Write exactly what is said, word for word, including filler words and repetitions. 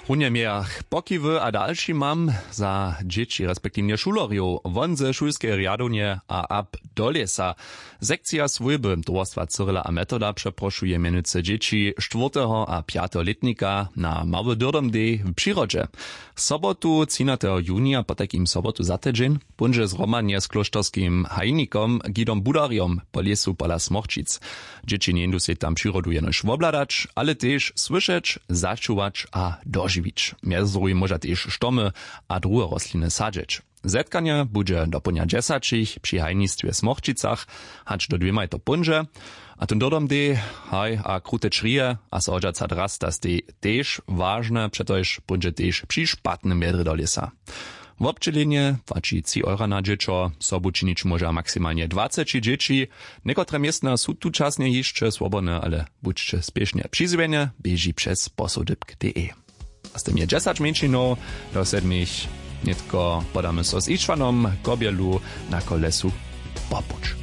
W runje mějach pokiwy a dalšimam za dźěći respektiwnje šulerjow won ze šulskeje rjadownje a ab do lěsa. Sekcija swójby towarstwa cyrila a metoda přeprošuje mjenujcy dźěći štwórteho a pjateho lětnika na mały dyrdom dej w přirodźe. Sobotu třinateho junija potajkim sobotu za tydźeń póńdźe zhromadnje z klóšterskim hajnikom gidom budarjom po lěsu pola smorčic. Dźěći njeńdu sej tam přirodu jenož wobhladać, ale tež słyšeć, začuwać a dožiwić. Mjez druhim móža tež štomy a druhe rostliny sadźeć. Zetkanje budźe dopołdnja dźesaćich při hajnistwje w smorčicach hač do dwěmaj to póńdźe. A tón dodom dej, haj a krute črije a so hodźaca drasta stej tež wažne přetož póńdźe tež při špatnym wjedrje do lěsa. Wobdźělenje płaći tři eura na dźěćo. Sobu činić móža maksimalnje dwaceći dźěći. Někotre městna su tučasnje hišće swobodne, ale budźće spěšnje přizwjene běži přez posołdypk de. A z tym je dźesać mjeńšinow do sedmich. Nětko podamy so z išwanom kobjelu na kolesu. Popuć.